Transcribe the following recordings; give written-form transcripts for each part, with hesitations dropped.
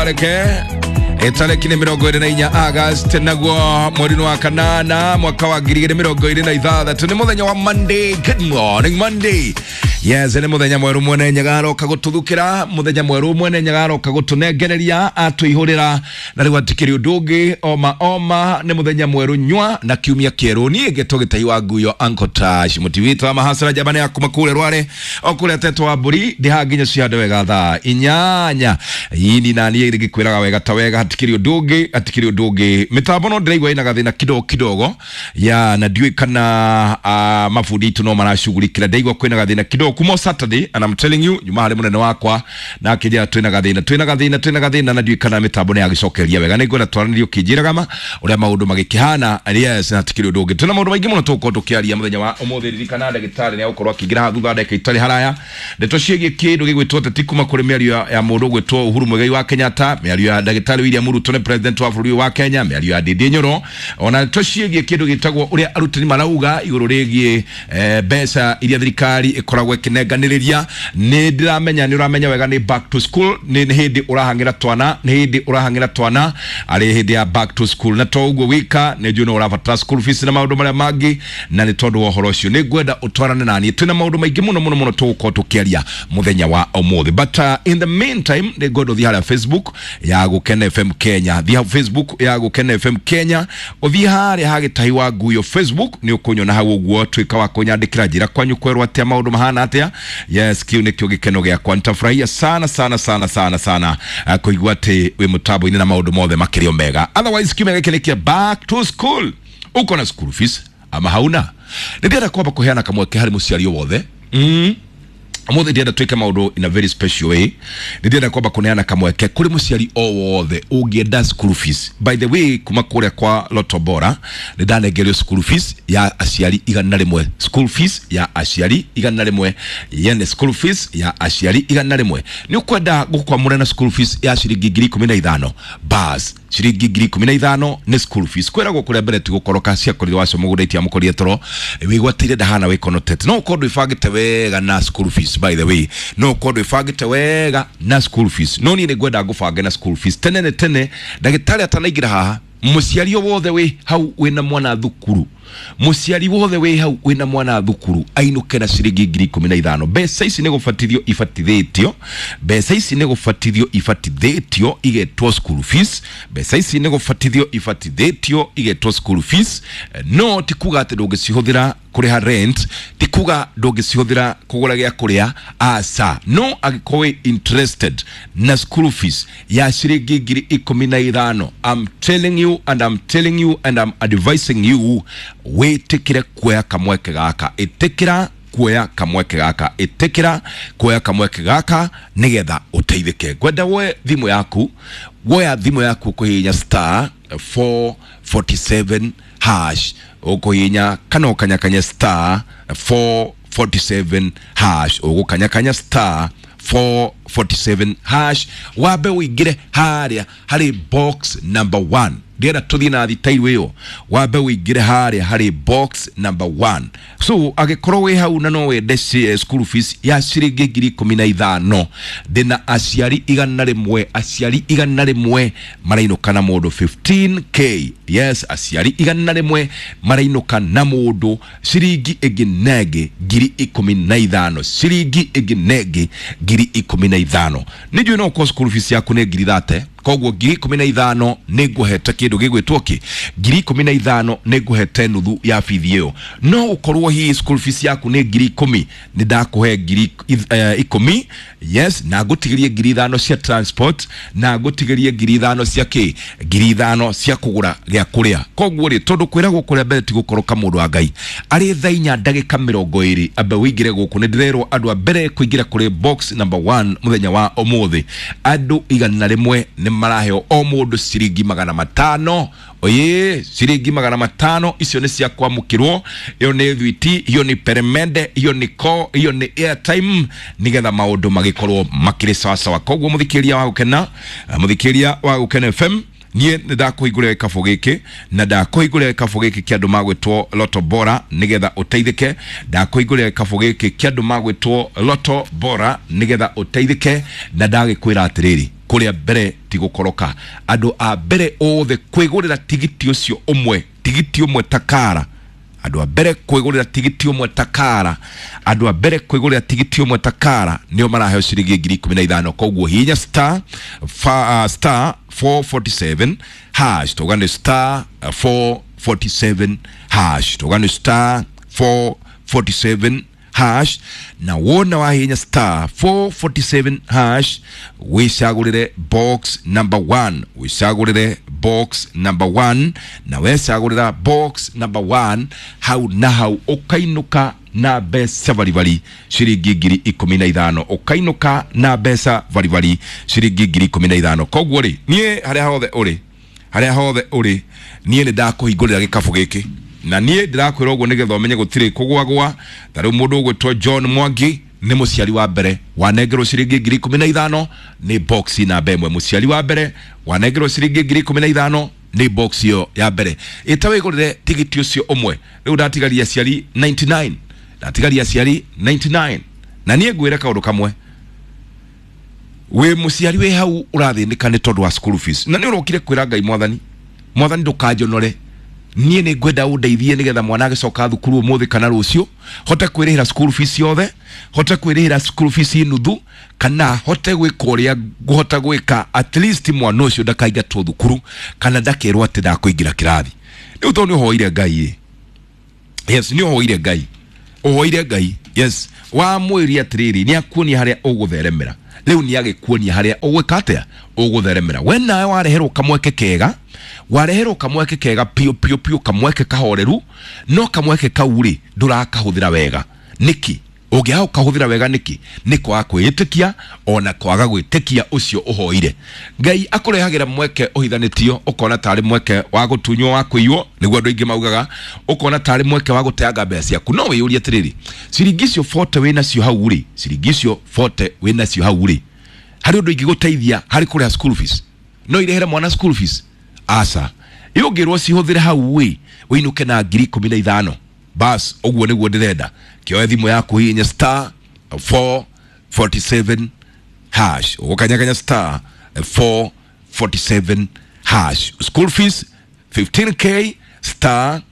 Ndũkareke itarĩki nĩ 24 August naguo mweri wa kanana mwaka wa 2026 nĩ mũthenya wa Monday. Good morning Monday. Yes, nĩ mũthenya mwerũ mwene Nyaga aroka gũtũthukĩra, mũthenya mwerũ mwene Nyaga aroka gũtũnengereria atũihũrĩra, na rĩu atikĩrĩ ũndũ ũngĩ oma oma nĩ mũthenya mwerũ nyua na kiumia kĩerũ. Niĩ ngetwo Gĩtai wa Nguyo, Uncle Tash mũtiwitũ wa mahacara njamba ya kuma kũrĩa Rware o kũrĩa tetwo wa mbũri ndĩhaha nginya cihande wega thaa 8 ini na niĩ ngĩkwĩraga wega ta wega, hatikĩrĩ ũndũ ũngĩ, hatikĩrĩ ũndũ ũngĩ. Mĩtambo no ndĩraigua ĩna gathĩna kidogo kidogo ya na ndiũĩ kana mabundi itũ no maracugurikĩra. Ndaigua kwĩna gathĩna kidogo kuma Saturday, and I'm telling you nyuma harĩ mũnene wakwa na akĩnjĩra twĩna gathĩna, twĩna gathĩna, twĩna gathĩna, na ndiũĩ kana mĩtambo nĩ yagĩcokeria wega. Nĩngwenda twaranĩrie ũkĩnjĩraga ma ũrĩa maũndũ magĩkĩhana. Yes, na hatikĩrĩ ũndũ ũngĩ, twĩna maũndũ maingĩ mũno tũgũkorwo tũkĩaria mũthenya wa ũmũthĩ. Ririkana ndagĩtarĩ nĩ agũkorwo akĩingĩra haha thutha wa ndagĩka itarĩ haraya, ndeto ciĩgiĩ kĩndũ gĩgwĩtwo teti kuma kũrĩ mĩario ya mũndũ ũgwĩtwo Uhuru Muigai wa Kenyatta, mĩario ya ndagĩtarĩ William Ruto nĩ president wa bũrũri ũyũ wa Kenya, mĩario ya Ndindi Nyoro, ona ndeto ciĩgiĩ kĩndũ gĩtagwo ũrĩa arutani marauga igũrũ rĩgiĩ mbeca iria thirikari ĩkoragwo ĩkĩnenganĩrĩria. Nĩ ndĩramenya nĩ ũramenya wega nĩ back to school, nĩ hĩndĩ ũrahang'ĩra twana, nĩ hĩndĩ ũrahang'ĩra twana arĩ hĩndĩ ya back to school, na to ũguo wika nĩ njũĩ no ũrabatara school fees na maũndũ marĩa mangĩ, na nĩ tondũ wa ũhoro ũcio nĩ ngwenda ũtwarane na niĩ. Twĩna maũndũ maingĩ mũno mũno mũno tũgũkorwo tũkĩaria mũthenya wa ũmũthĩ, but in the meantime nĩ ngwenda ũthiĩ harĩa Facebook ya Gũkena FM Kenya, thiĩ hau Facebook ya Gũkena FM Kenya, ũthiĩ harĩa ha Gĩtahi wa Nguyo Facebook, nĩ ũkũnyona hau ũguo. Tuĩka wa kũnyandĩkĩra, njĩra kwanyu kwerwo atĩa, maũndũ mahana atĩa. Yes, kiu nĩkĩo gĩkeno gĩakwa. Nitafurahia sana sana sana sana sana kũigua atĩ wĩ mũtambo-inĩ na maũndũ mothe makĩrĩ o mega. Otherwise kiumia gĩkĩ nĩ kĩa back to school. Uko na school fees ama hauna? Nĩ ndĩrenda kwamba kũheana kamweke harĩ mũciari o wothe. Ũmũthĩ ndĩrenda twĩke maũndũ in a very special way. Nĩ ndĩrenda kwamba kũneana kamweke kũrĩ mũciari o wothe ũngĩenda school fees. By the way, kuma kũrĩa kwa Lotto Bora nĩ ndanengerio school fees ya aciari 100, school fees ya aciari 100, yani school fees ya aciari 100. Nĩ ũkwenda gũkwamũra na school fees ya ciringi 15,000? Bas, ciringi 15,000 nĩ school fees. Kwĩragwo kũrĩa mbere ti gũkoroka, ciakorire wacio mũgũnda itiamũkorire toro wĩgwatĩire ndahana wĩkonotete. No ũkorwo ndwĩbangĩte wega na school fees, by the way, no ũkorwo ndwĩbangĩte wega na school fees, no niĩ nĩ ngwenda ngũbange na school fees tene nĩ tene ndagĩtarĩ atanaingĩra haha. Mũciari o wothe wĩ hau wĩna mwana thukuru, mũciari wothe wĩ hau wĩna mwana thukuru ainũke na ciringi 15,000. Mbeca ici nĩ gũbatithio ibatithĩtio, mbeca ici nĩ gũbatithio ibatithĩtio igetwo school fees, mbeca ici nĩ gũbatithio ibatithĩtio igetwo school fees. No ti kuga atĩ ndũngĩcihũthĩra kũrĩha rent, ti kuga ndũngĩcihũthĩra kũgũra gĩa kũrĩa, aca. No angĩkorwo wĩ interested na school fees ya ciringi 15,000, I'm telling you and I'm telling you and I'm advising you wĩtĩkĩre kuoya kamweke gaka, ĩtĩkĩra kuoya kamweke gaka, ĩtĩkĩra kuoya kamweke gaka nĩgetha ũteithĩke. Ngwenda woe thimũ yaku, woya thimũ yaku kũhihinya *447#, ũkũhihinya kana ũkanyakanya *447#, ũgũkanyakanya *447# wambe ũingĩre harĩa harĩ box number 1. Ndĩrenda tũthiĩ na thitairu ĩyo, wambe ũingĩre harĩa harĩ box number 1. So angĩkorwo wĩ hau na no wende school fees ya ciringi 15,000, ndĩna aciari 100, aciari 100 marainũka na mũndũ 15K. Yes, aciari 100 marainũka na mũndũ ciringi ĩngĩ na ĩngĩ 15,000, ciringi ĩngĩ na ĩngĩ 15,000. Nĩ njũĩ no ũkorwo school fees yaku nĩ 30,000, koguo 15,000 nĩ ngũhete kĩndũ gĩgwĩtwo kĩ, 15,000 nĩ ngũhete nuthu ya bithi ĩyo. No ũkorwo hihi school fees yaku nĩ 10,000, nĩ ndakũhe 10,000, yes, na ngũtigĩrie 5,000 cia transport, na ngũtigĩrie 5,000 cia kĩ, 5,000 cia kũgũra gĩa kũrĩa. Koguo rĩ, tondũ kwĩragwo kũrĩa mbere ti gũkoroka, mũndũ wa Ngai arĩ thaa 4:20 ambe wĩingĩre gũkũ. Nĩ ndĩrerwo andũ a mbere kũingĩra kũrĩ box number 1 mũthenya wa ũmũthĩ, andũ 100 nĩ maraheo o mũndũ ciringi 500. Oye, ciringi 500 icio nĩ cia kwamũkĩrwo, ĩyo nĩ thwiti, hiyo nĩ peremende, hiyo nĩ ko, hiyo nĩ airtime, nĩgetha maũndũ magĩkorwo makĩrĩ sawasawa. Koguo mũthikĩria wa Gũkena, mũthikĩria wa Gũkena FM, Niĩ nĩ ndakũhingũrĩra gĩkabũ gĩkĩ, na ndakũhingũrĩra gĩkabũ gĩkĩ kĩa andũ magwĩtwo Loto Bora nĩgetha ũteithĩke. Ndakũhingũrĩra gĩkabũ gĩkĩ kĩa andũ magwĩtwo Loto Bora nĩgetha ũteithĩke, na ndagĩkwĩra atĩrĩrĩ, kũrĩa mbere ti gũkoroka. Andũ a mbere othe kwĩgũrĩra tigiti ũcio ũmwe, tigiti ũmwe takara, andũ a mbere kwĩgũrĩra tigiti ũmwe takara, andũ a mbere kwĩgũrĩra tigiti ũmwe takara nĩo maraheo ciringi 15,000. Koguo hihinya star star 447 hash, tuga nĩ star 447 hash, tuga nĩ star 447 hash, na wona wahihinya star 447 hash wicagũrĩre box number 1, wicagũrĩre box number 1, na wecagũrĩra box number 1 hau na hau ũkainũka na mbeca baribari ciringi 15,000, ũkainũka na mbeca baribari ciringi 15,000. Koguo rĩ, niĩ harĩa hothe ũrĩ, harĩa hothe ũrĩ, niĩ nĩ ndakũhingũrĩra gĩkabũ gĩkĩ, na niĩ ndĩrakwĩra ũguo nĩgetha ũmenye gũtirĩ kũgwagwa. Ta rĩu mũndũ ũgwĩtwo John Mwangi nĩ mũciari wa mbere wanengerwo ciringi 15,000 nĩ box namba ĩmwe. Mũciari wa mbere wanengerwo ciringi 15,000 nĩ box ĩyo ya mbere. Ĩta wĩgũrĩre tigiti ũcio ũmwe. Rĩu ndatigaria aciari 99, ndatigaria aciari 99. Na niĩ ngwĩre kaũndũ kamwe, wĩ mũciari wĩ hau ũrathĩnĩka nĩ tondũ wa school fees, na nĩ ũrokire kwĩra Ngai, Mwathani, Mwathani ndũkanjonore, niĩ nĩ ngwenda ũndeithie nĩgetha mwana agĩcoka thukuru ũmũthĩ kana rũciũ hote kwĩrĩhĩra school fees yothe, hote kwĩrĩhĩra school fees nuthu, kana hote gwĩka ũrĩa ngũhota gwĩka, at least mwana ũcio ndakaingatwo thukuru kana ndakerwo atĩ ndakũingĩra kĩrathi. Rĩu tondũ nĩ ũhoire Ngai ĩ, yes, nĩ ũhoire Ngai, ũhoire Ngai, yes, wamwĩria atĩrĩrĩ, nĩ akuonia harĩa ũgũtheremera. Rĩu nĩ agĩkuonia harĩa ũgwĩka atĩa, ũgũtheremera. We nawe wareherwo kamweke kega, wareherwo kamweke kega piũ piũ piũ, kamweke kahoreru, no kamweke kau rĩ ndũrakahũthĩra wega. Nĩkĩ ũngĩaga gũkahũthĩra wega? Nĩkĩ? Nĩ kwaga kwĩĩtĩkia ona kwaga gwĩtĩkia ũcio ũhoire. Ngai akũrehagĩra mweke ũhithanĩtio, ũkona tarĩ mweke wa gũtunywo, wa kũiywo, nĩguo andũ aingĩ maugaga, ũkona tarĩ mweke wa gũteanga mbeca ciaku. No wĩyũrie atĩrĩrĩ, ciringi icio 40 wĩ nacio hau rĩ, ciringi icio 40 wĩ nacio hau rĩ, harĩ ũndũ ingĩgũteithia harĩ kũrĩha school fees? No irehere mwana school fees? Aca. Ĩ ũngĩrwo cihũthĩre hau ĩ ũinũke na 15,000, bas, ũguo nĩguo ndĩrenda. Kĩoe thimũ yaku, hihinya star 447 hash, ũgũkanyakanya star 447 hash, school fees 15K, star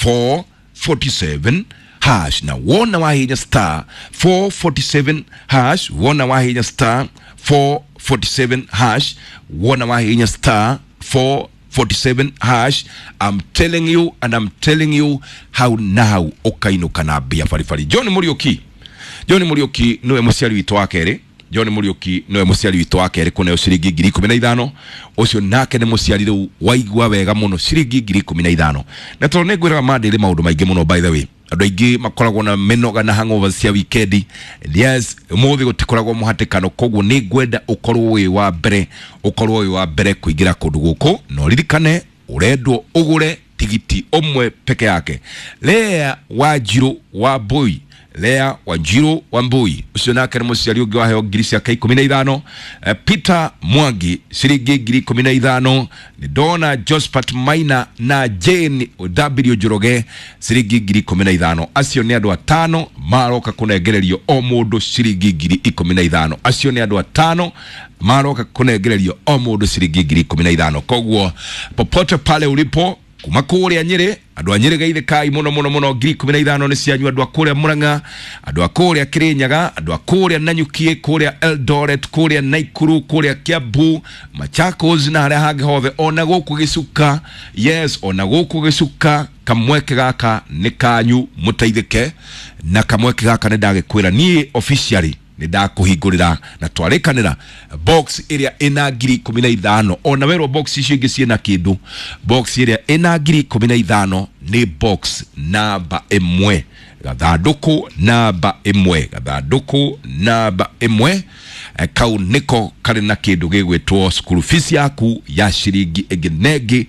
447 hash. Na wona wahinya star 447 hash, wona wahinya star 447 hash, wona wahinya star 447 hash, I'm telling you and I'm telling you, how now ũkainũka na mbia baribari. John Muriuki, John Muriuki niwe mũciari witũ wa kerĩ. John Muriuki niwe mũciari witũ wa kerĩ kũneo ciringi 15,000. Ũcio nake nĩ mũciari rĩu waigua wega mũno, ciringi 15,000. Na tondũ nĩ ngwĩraga mandĩrĩ maũndũ maingĩ mũno, by the way, andũ aingĩ makoragwo na mĩnoga na hangover cia wikendi. Yes, ũmũthĩ gũtikoragwo mũhatĩkano, koguo nĩ ngwenda ũkorwo wĩ wa mbere, ũkorwo wĩ wa mbere kũingĩra kũndũ gũkũ, na ũririkane ũrendwo ũgũre tigiti ũmwe peke yake. Lea Wanjiru wa Mbui, Lea Wanjiru wa Mbui, ũcio nake nĩ mũciari ũngĩ waheo ngiri ciake 15. Peter Mwangi ciringi 15,000. Nĩ ndona Josephat Maina na Jane W Njoroge ciringi 15,000. Acio nĩ andũ atano maroka kũnengererio o mũndũ ciringi 15,000. Acio nĩ andũ atano maroka kũnengererio o mũndũ ciringi 15,000. Koguo popote pale ulipo, kuma kũrĩa Nyĩrĩ, andũ a Nyĩrĩ geithĩkai mũno mũno mũno, 15,000 nĩ cianyu. Andũ a kũrĩa Murang'a, andũ a kũrĩa Kĩrĩnyaga, andũ a kũrĩa Nanyuki, kũrĩa Eldoret, kũrĩa Naikuru, kũrĩa Kiambu, Machakos na harĩa hangĩ hothe, ona gũkũ Gĩcuka, yes, ona gũkũ Gĩcuka, kamweke gaka nĩ kanyu mũteithĩke. Na kamweke gaka nĩ ndagĩkwĩra niĩ officially nĩ ndakũhingũrĩra na twarĩkanĩra box ĩrĩa ĩna 15,000. Ona werwo box icio ingĩ ciĩna kĩndũ, box ĩrĩa ĩna 15,000 nĩ box namba ĩmwe, gathandũkũ namba ĩmwe, gathandũkũ namba ĩmwe. Kau nĩko karĩ na kĩndũ gĩgwĩtwo school fees yaku ya ciringi ĩngĩ na ĩngĩ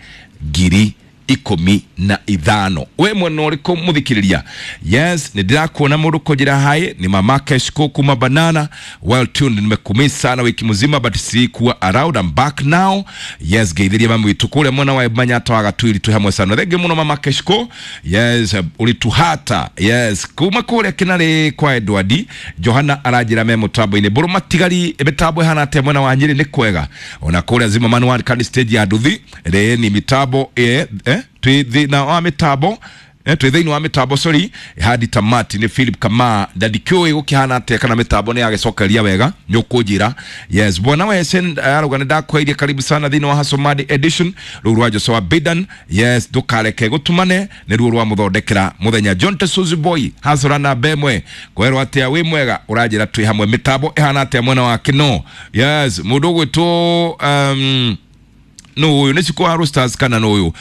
ngiri 15. We mwena ũrĩkũ mũthikĩrĩria? Yes, nĩ ndĩrakuona mũndũ kũnjĩra hai ni mama Keshko kuma Banana. Well tuned, nimekumisa sana wiki mzima but sikuwa around, I'm back now. Yes, geithiria mami witu kũrĩa mwena wa Manyata wa Gatwiri, twĩ hamwe sana. Thengiũ mũno mama Keshko. Yes, ũrĩtuhata. Yes, kuma kũrĩa Kĩnarĩ kwa Edward Johana aranjĩra me mũtambo-inĩ. Mbũrũ matigari mĩtambo ĩhana atĩa mwena wa Nyĩrĩ? Nĩ kwega. Ona kũrĩa Zimmerman one kandi stage ya nduthi rĩ ni mitambo twĩ thĩna wa mitambo, twĩ thĩinĩ wa mitambo, sorry, hadi tamati ni Philip Kama ndandikĩũĩ gũkĩhana atĩa kana mitambo nĩ yagĩcokeria wega, nĩ ũkũnjĩra. Yes, bwana Wesen arauga nĩ ndakwairie, karibu sana thĩinĩ wa Hasomadi edition rũu rwa Joshua Bidan. Yes, ndũkareke gũtumane nĩ ruo rwa mũthondekera mũthenya. John Tesuzi boy hasora na bemwe kwerwo atĩa, wĩ mwega? Ũranjĩra twĩ hamwe. Mitambo ĩhana atĩa mwena wa Kino? Yes, mũndũ ũgwĩtwo no ũyũ nĩ cikũ wa Roosters kana no ũyũ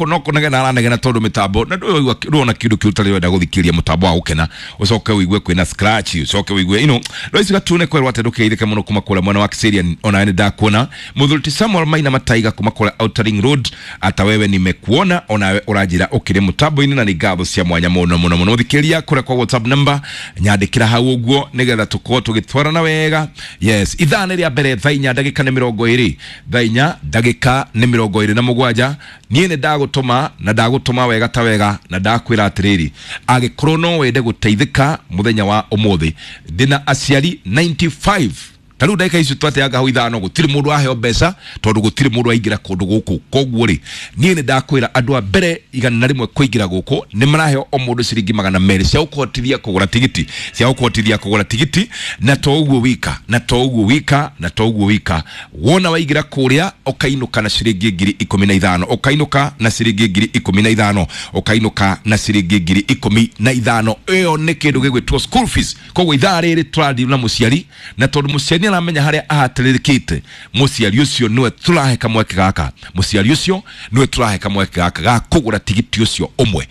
no kũnegena aranegena tondũ mĩtambo na ndũona kĩndũ kĩu ũtarĩ wenda gũthikĩrĩria mũtambo wa gũkena, ũcoke ũigue kwĩna scratch, ũcoke ũigue raici gatune kwerwo atĩ ndũkĩgeithĩke mũno kuma kũrĩa mwena wa Kiserian. Onawe nĩ ndakuona mũthuri ti Samuel Maina Mataiga kuma kũrĩa Outer Ring Road, ata wewe nimekuona, onawe ũranjĩra ũkĩrĩ mũtambo-inĩ na nĩ ngatho cia mwanya mũno mũno mũno. Thikĩrĩria kũrĩa kwa WhatsApp number nyandĩkĩra hau ũguo nĩgetha tũkorwo tũgĩtwarana wega. Yes, ithaa nĩ rĩa mbere thaa 4 ndagĩka nĩ 20, thaa 4 ndagĩka nĩ 27. Niĩ nĩ ndagũtũma na ndagũtũma wega ta wega na ndakwĩra atĩrĩrĩ, angĩkorwo no wende gũteithĩka mũthenya wa ũmũthĩ, ndĩna aciari 95 ta rĩu ndagĩka icio twateanga hau 5, gũtirĩ mũndũ aheo mbeca tondũ gũtirĩ mũndũ aingĩra kũndũ gũkũ. Koguo rĩ, niĩ nĩ ndakwĩra andũ a mbere 101 kũingĩra gũkũ nĩ maraheo o mũndũ ciringi 200 cia gũkũhotithia kũgũra tigiti, cia gũkũhotithia kũgũra tigiti. Na to ũguo wika, na to ũguo wika, na to ũguo wika, wona waingĩra kũrĩa ũkainũka na ciringi 15,000, ũkainũka na ciringi 15,000, ũkainũka na ciringi 15,000. Ĩyo nĩ kĩndũ gĩgwĩtwo school fees. Koguo ithaa rĩrĩ tũrathiĩ na mũciari, na tondũ mũciari aramenya harĩa ahatĩrĩrĩkĩte, mũciari ũcio nĩwe tũrahe kamweke gaka, mũciari ũcio nĩwe tũrahe kamweke gaka ga kũgũra tigiti ũcio ũmwe.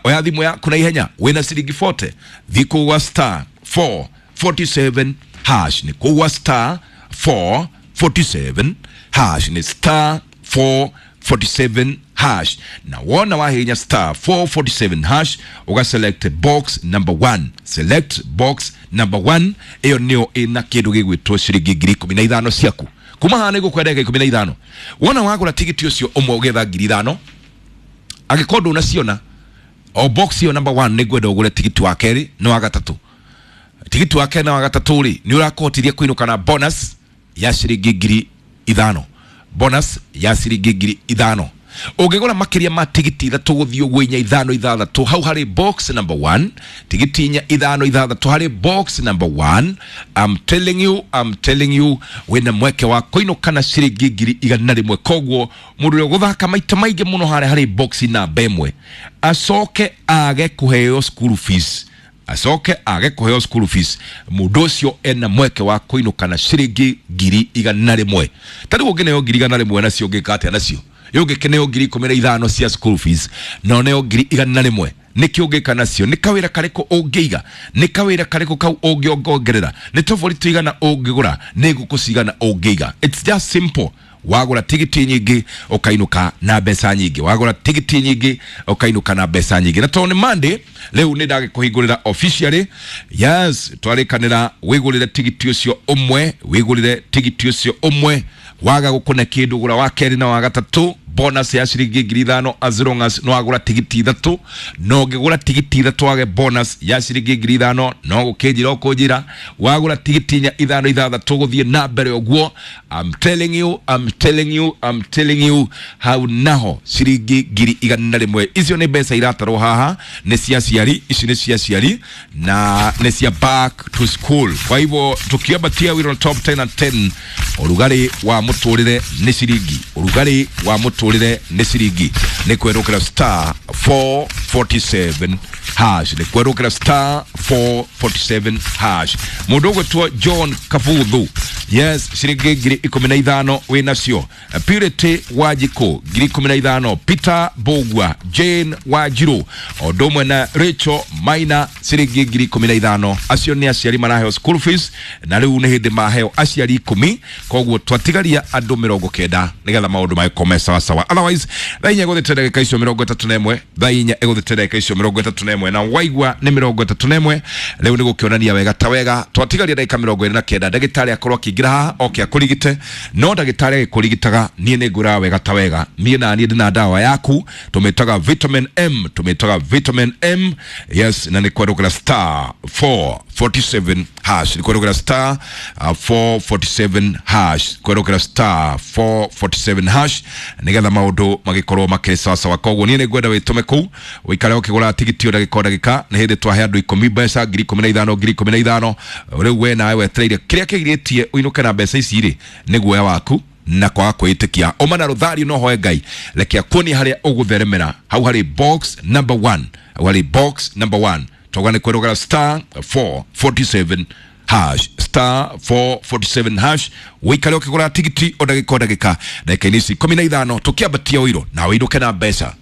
Oya thimũ yaku na ihenya, wĩna ciringi 40, thiĩ kũgũa star 447 hash, nĩ kũgũa star 447 hash, nĩ star 447 hash. Na wona wahinya star 447 hash uga select box number 1, select box number 1, iyo nĩyo ĩna kĩndũ gĩgwĩtwo ciringi 15,000 ciaku kuma haha nĩgũkwa ndagĩka 15. Wona wagũra tigiti ũcio ũmwe ũgetha 5,000, angĩkorwo ndũnaciona o box ĩyo number 1, nĩngwenda ũgũre tigiti wa kerĩ na wa gatatũ. Tigiti wa kerĩ na wa gatatũ rĩ, nĩ ũrakũhotithia kũinũka na bonus ya ciringi 5,000, bonus ya ciringi 5,000. Ũngĩgũra makĩria ma tigiti 3 gũthiĩ ũguo 4 5 6 hau harĩ box number 1, tigiti 4 5 6 harĩ box number 1, I'm telling you, I'm telling you, wĩna mweke wa kũinũka na ciringi 100,000. Koguo mũndũ ũrĩa ũgũthaka maita maingĩ mũno harĩa harĩ box namba 1 acoke age kũheo school fees, acoke age kũheo school fees, mũndũ ũcio ena mweke wa kũinũka na ciringi 100,000. Ta rĩu ũngĩneo 100,000 nacio ũngĩka atĩa nacio? Ũngĩkĩneo 15,000 cia school fees na ũneo 100,000, nĩkĩ ũngĩka nacio? Nĩ kawĩra karĩkũ ũngĩiga? Nĩ kawĩra karĩkũ kau ũngĩongerera? Nĩ tobori tũigana ũngĩgũra? Nĩ ngũkũ cigana ũngĩiga? It's just simple. Wagũra tigiti nyingĩ ũkainũka na mbeca nyingĩ, wagũra tigiti nyingĩ ũkainũka na mbeca nyingĩ. Na tondũ nĩ Monday rĩu nĩ ndagĩkũhingũrĩra officially. Yes, twarĩkanĩra wĩgũrĩre tigiti ũcio ũmwe, wĩgũrĩre tigiti ũcio ũmwe, waga gũkũne kĩndũ gũra wa kerĩ na wa gatatũ, bonus ya ciringi 5,000 as long as no wagũra tigiti 3. No ũngĩgũra tigiti 3 wage bonus ya ciringi 5,000, no gũkĩnjĩra ũkũnjĩra. Wagũra tigiti 4 5 6 gũthiĩ na mbere ũguo, I'm telling you, I'm telling you, I'm telling you, hau naho ciringi 100,000. Icio nĩ mbeca iratarwo haha, nĩ cia aciari, ici nĩ cia aciari na nĩ cia back to school. Kwa hivyo tukiambatia we on top 10 and 10, ũrugarĩ wa mũtũrĩre nĩ ciringi, ũrugarĩ wa mũtũrĩre nĩ ciringi, nĩ kwerũkĩra star 447 hash, nĩ kwerũkĩra star 447 hash. Mũndũ ũgwĩtwo John Kabuthu, Yes, ciringi 15,000 wĩ nacio. Purity Wanjikũ 15,000, Peter Bogwa, Jane Wanjiru o ũndũ ũmwe na Rachel Maina ciringi 15,000. Acio nĩ aciari maraheo school fees, na rĩu nĩ hĩndĩ maheo aciari 10, koguo twatigaria andũ 90 nĩgetha maũndũ magĩkorwo me sawasawa. Otherwise thaa 4 ĩgũthĩte ndagĩka icio 31, thaa 4 ĩgũthĩte ndagĩka icio 31, na waigua nĩ 31 rĩu nĩ gũkĩonania wega ta wega twatigaria ndagĩka 29 ndagĩtarĩ akorwo akĩingĩra haha oke akũrigite. No ndagĩtarĩ agĩkũrigitaga, niĩ nĩ ngwĩraga wega ta wega, niĩ na niĩ ndĩna ndawa yaku tũmĩtaga vitamin M, tũmĩtaga vitamin M. Yes, na nĩ kwerũkĩra star 447 hash, nĩ kwerũkĩra star 447 hash, kwerũkĩra star 447 hash nĩgetha maũndũ magĩkorwo makĩrĩ sawasawa. Koguo niĩ nĩ ngwenda wĩtũme kũu ũikare ũkĩgũra tigiti o ndagĩka o ndagĩka. Nĩ hĩndĩ twahe andũ 10 mbeca 15,000, 15,000. Rĩu we nawe wetereire kĩrĩa kĩgirĩtie ũinũke na mbeca ici rĩ nĩ guoya waku na kwaga kwĩĩtĩkia. Ũma na rũthario no hoe Ngai reke akuonie harĩa ũgũtheremera hau harĩ box number 1, hau harĩ box number 1. Twauga nĩ kwerũgara star 447 hash, star 447 hash, wĩikare ũkĩgũra tigiti o ndagĩka o ndagĩka ndagĩka-inĩ ici 15 tũkĩambatia ũiro na wĩinũke na mbeca.